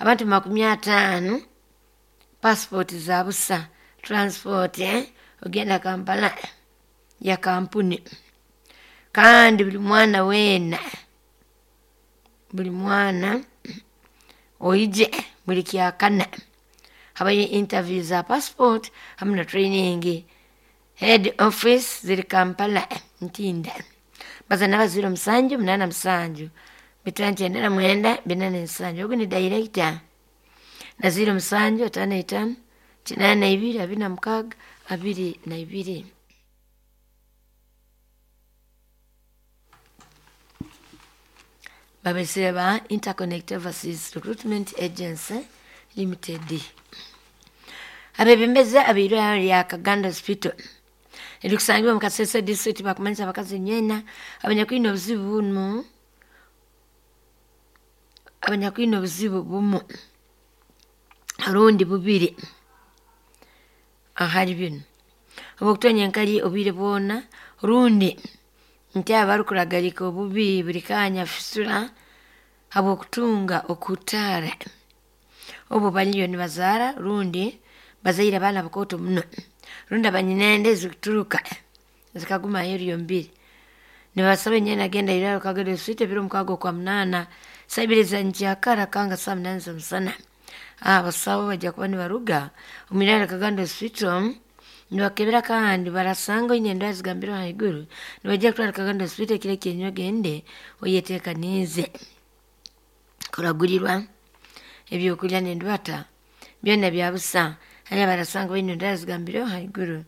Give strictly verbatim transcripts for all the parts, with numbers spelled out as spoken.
Abantu makumi ataano passport za busa, transport eh, ogenda Kampala ya kampuni. Kandi buli mwana weena, buli mwana oije buli kyakana habayo interview za passport hamu na training. Head office ziri Kampala Ntinda. Baza naba ziro musanju munana musanju bitano kyenda na mwenda bina n'ensanju. Ogu ni director na ziro musanju ataano etaano kinaana na ibiri abiri na mukaaga abiri na ibiri. Babesere ba Interconnect Overseas Recruitment Agency Limited. Abebembezi ab'eirwariro lya Kaganda Hospital erikusangibwa mu Kasese district bakumanyisa abakazi nyena abanyakwine obuzibu bunu abanyakwine obuzibu bumu rundi bubiri ahali binu obwokutonya enkali obwire bwona rundi nti abarukuragalika obubi buli kanya fisura habwokutunga okutaara obu baliyo nibazaara rundi bazaire abaana bakooto muno rundi abanyinende ezikuturuka zikaguma aheeru y'omubiri. Nibasaba enyena agenda iraro Kaganda Hospital ebiro mukaaga okwa munaana saa ibiri za nkyakara kanga saa munaana z'omusana. Abasawo bajja kuba nibaruga omu iraro Kaganda Hospital nibakebera kandi barasanga oine endwara zigambirwe haiguru nibajja kutwara Kaganda Hospital ekiro ekyenyuma ogende oyeteekaniize kuragurirwa ebyokulya n'endwata byona bya busa. Hali abarasanga baine endwara zigambirwe haiguru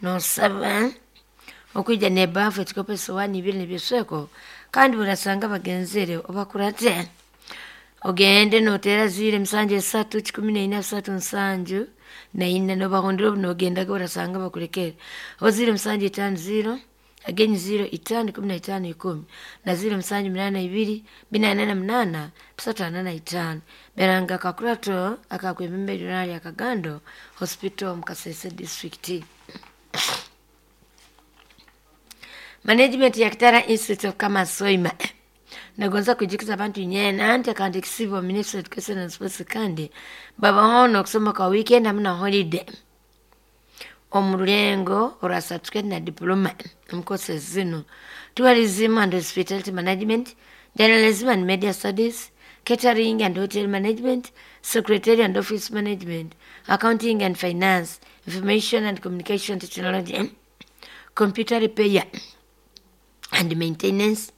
noosaba okwija n'ebaafu, ekikopo, esowaani ibiri n'ebyesweko kandi burasanga bagenzere obakurate ogende noteera ziro emisanju esatu kikumi naina bisatu nsanju naina nobahondera obu nogendaga orasanga bakulekere oba ziro musanju etaano ziro agenyi ziro itaano ikumi na itaano ikumi na ziro musanju munaana ibiri bina na munaana bisatu ana na itaano. Beranga kakurato akakwebembera irwariro lya Kagando Hospital mu Kasese district. Management ya Kitara Institute of Commerce Soima nagonza kujikiza abantu nyena anti kandi kisibo Ministry of Education and Sports kandi babahono okusoma kwa weekend hamwe na holiday omu rulengo olwa certificate na diploma omu courses zinu: tourism and hospitality management, journalism and media studies, catering and hotel management, secretary and office management, accounting and finance, information and communication technology, computer repair and maintenance,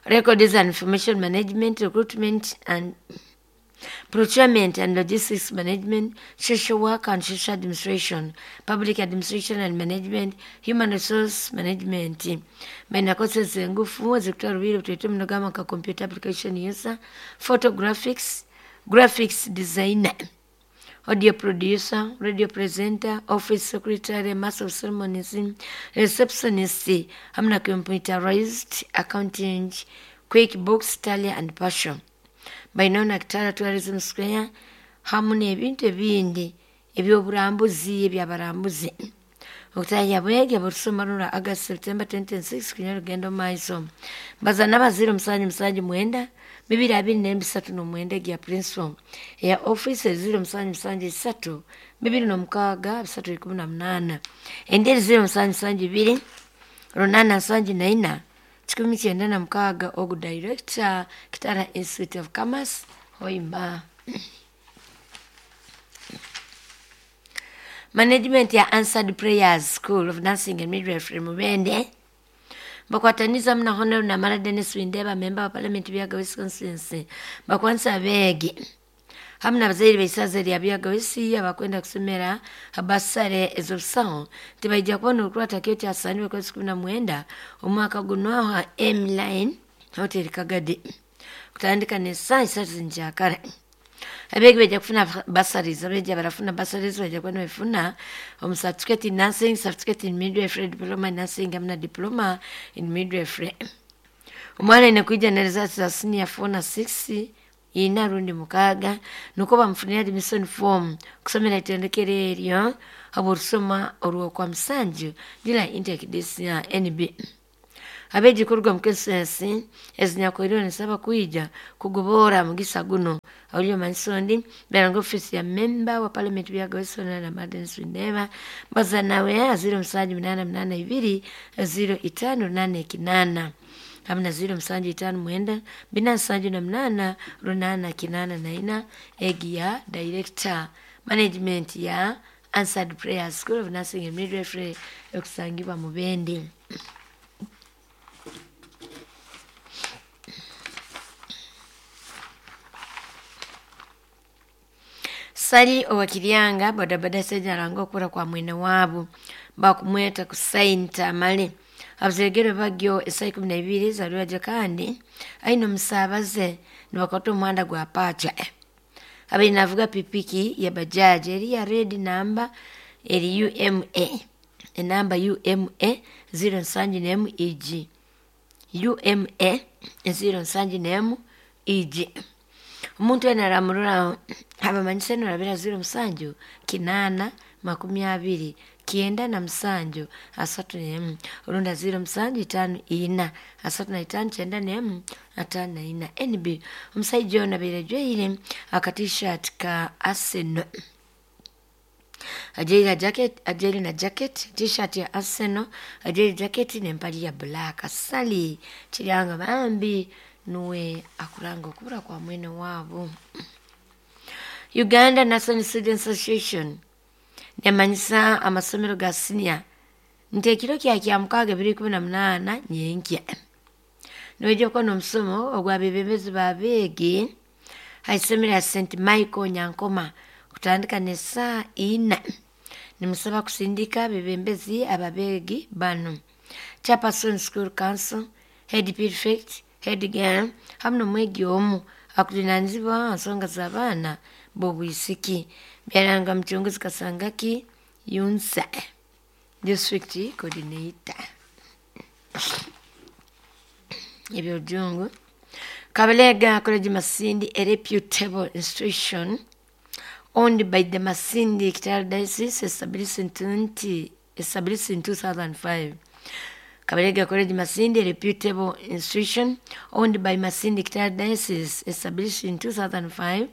records and information management, recruitment and procurement and logistics management, social work and social administration, public administration and management, human resource management. Baina courses engufu ezikutwara obwire butwite muno gamba nka computer application user, photographics, graphics designer, audio producer, radio presenter, office secretary, master of ceremonies, receptionist, hamwe na computerized accounting, QuickBooks, Tally and Passion. Bainaho na Kitara Tourism Square hamu n'ebintu ebindi eby'oburambuzi ebyabarambuzi. Okutahya bwege burusoma rura August September twenty twenty-six kunywa rugendo omu maiso. Baza n'abazire omusanju musanju mwenda bibiri abiri n'ebisatu n'omwenda egya principal eya office ziro musanju musanju isatu bibiri n'omukaaga bisatu ikumi na munaana endi eri ziro musanju musanju ibiri runaana nsanju naina kikumi kyenda na mukaaga ogu director Kitara Institute of Commerce Hoima. Management ya Answered Prayers School of Nursing and Midwifery Mubende bakwataniza muna Honorable Namara Dennis Windeba, member wa Parliament Buyaga West Constituency, bakwanisa abeegi hamu n'abazaire b'eisaza lya Buyaga West abakwenda kusomera habasare ez'obusaho tibaija kubona orukurata kyo kyasaanirwe kwezi kumi na mwenda omwaka guno aha M-Line Hotel Kagadi kutandika n'essaaha isatu zinkyakara. Abeegi baija kufuna bursaries, abeegi abarafuna bursaries baija kuba nibafuna omu certificate in nursing, certificate in midwifery, diploma in nursing hamu na diploma in midwifery. Omwana aine kwija na results za senior four na six ina rundi mukaaga nukwo bamufunire admission form kusomera itendekero eryo habw'orusoma orw'okwa musanju July intake this year N B. Abeegi kuruga mu constituency ezinyakwiriwe nisaba kwija kugobora mugisa guno. Aulio mansondi beranga ofisi ya member wa parliament byagawesona na Martin Swindeba baza nawe ziro musanju munana munana ibiri ziro itano nane kinana hamna ziro musanju itano mwenda bina nsanju na munana runana kinana na ina egi ya director management ya Answered Prayer School of Nursing and Midwifery ekusangibwa mu Bendi. Sali owakiryanga bodaboda sejaranga okura kwa mwene waabo bakumweta kusainta amale abuzeregere bagyo esaa ikumi na ibiri zalwaje kandi aine omusaabaze nibakwata omuhanda gwa pacha. Abaine navuga pikipiki ya bajaji eri ya red namba eri U M A enamba U M A ziro nsanju nemu E G U M A ziro nsanju nemu E G. Omuntu wena aramurora abamanyise norabira ziro musanju kinana makumi abiri kienda na musanju asatu nemu orunda ziro musanju itano ina asatu na itano kyenda nemu atano na ina. N B omusaija ono abaire ajwaire aka t-shirt ka Arsenal, ajwaire jacket, ajwaire na jacket t-shirt ya Arsenal, ajwaire jacket n'empali ya black. Sali kiryanga bambi nuwe akuranga okubura kwa mwene waabo. Uganda National Students Association nemanyisa amasomero ga senior nti ekiro kya kya mukaaga ebiri ikumi na munaana nyenkya nibaija kuba n'omusomo ogw'abebembezi b'abeegi ha isomero ya Saint Michael Nyankoma kutandika n'esaa ina. Nimusaba kusindika abebembezi ababeegi bano: Chairperson School Council, Head Prefect, Head Girl hamu n'omwegi omu akujunanizibwa ha nsonga z'abaana b'obwisiki. Byaranga muchunguzi Kasangaki Yunsa District Coordinator. Ebyojungu Kabalega College Masindi, a reputable institution owned by the Masindi Kitara Diocese, established in twenty established in two thousand five. Kabalega College Masindi, a reputable institution owned by Masindi Kitara Diocese, established in two thousand five.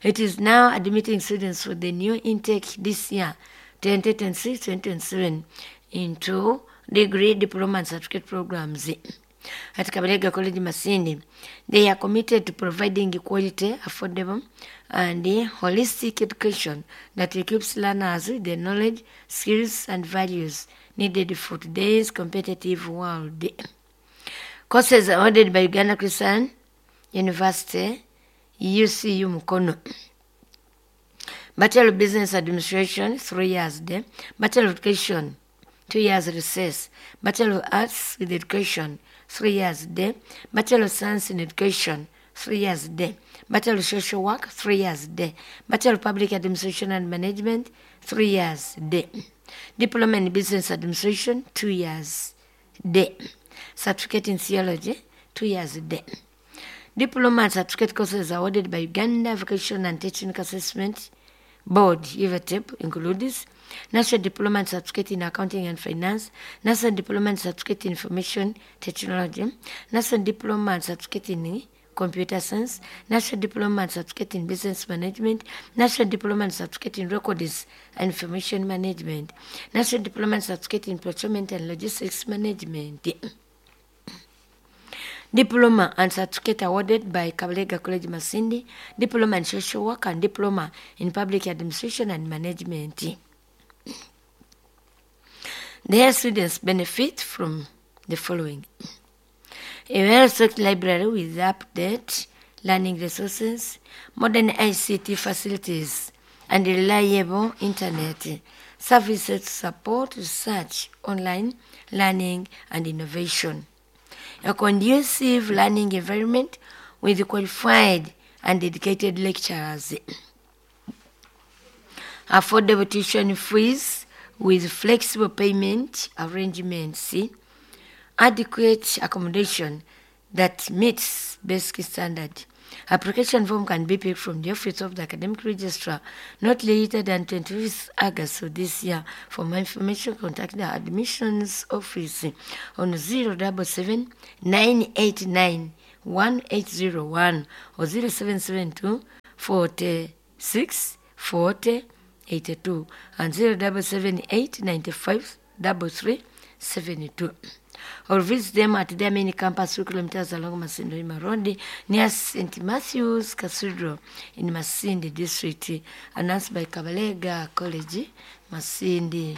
It is now admitting students for the new intake this year, twenty twenty-six twenty twenty-seven, into degree, diploma, and certificate programs. At Kabalega College Masindi, they are committed to providing quality, affordable, and holistic education that equips learners with the knowledge, skills, and values needed for today's competitive world. Courses awarded by Uganda Christian University, U C U Mukono. Bachelor of Business Administration, three years there. Bachelor of Education, two years recess. Bachelor of Arts with Education, three years there. Bachelor of Science in Education, three years there. Bachelor of Social Work, three years there. Bachelor of Public Administration and Management, three years there. Diploma in Business Administration, two years there. Certificate in Theology, two years there. Diploma and certificate courses awarded by Uganda Vocational and Technical Assessment Board, U V T E B, includes National Diploma and Certificate in Accounting and Finance, National Diploma and Certificate in Information Technology, National Diploma and Certificate in Computer Science, National Diploma and Certificate in Business Management, National Diploma and Certificate in Records and Information Management, National Diploma and Certificate in Procurement and Logistics Management. Diploma and certificate awarded by Kabalega College Masindi, Diploma in Social Work and Diploma in Public Administration and Management. Their students benefit from the following: a well-stocked library with update learning resources, modern I C T facilities, and reliable internet services to support research, online learning, and innovation. A conducive learning environment with qualified and dedicated lecturers. Affordable tuition fees with flexible payment arrangements. Adequate accommodation that meets basic standard. Application form can be picked from the office of the academic registrar not later than twenty-fifth August of this year. For more information, contact the admissions office on zero seven seven nine eight nine one eight zero one or zero seven seven two forty-six forty eighty-two and zero seven seven eight ninety-five three three seventy-two, or visit them at their main campus, two kilometers along Masindi Road near Saint Matthew's Cathedral in Masindi District. Announced by Kabalega College, Masindi.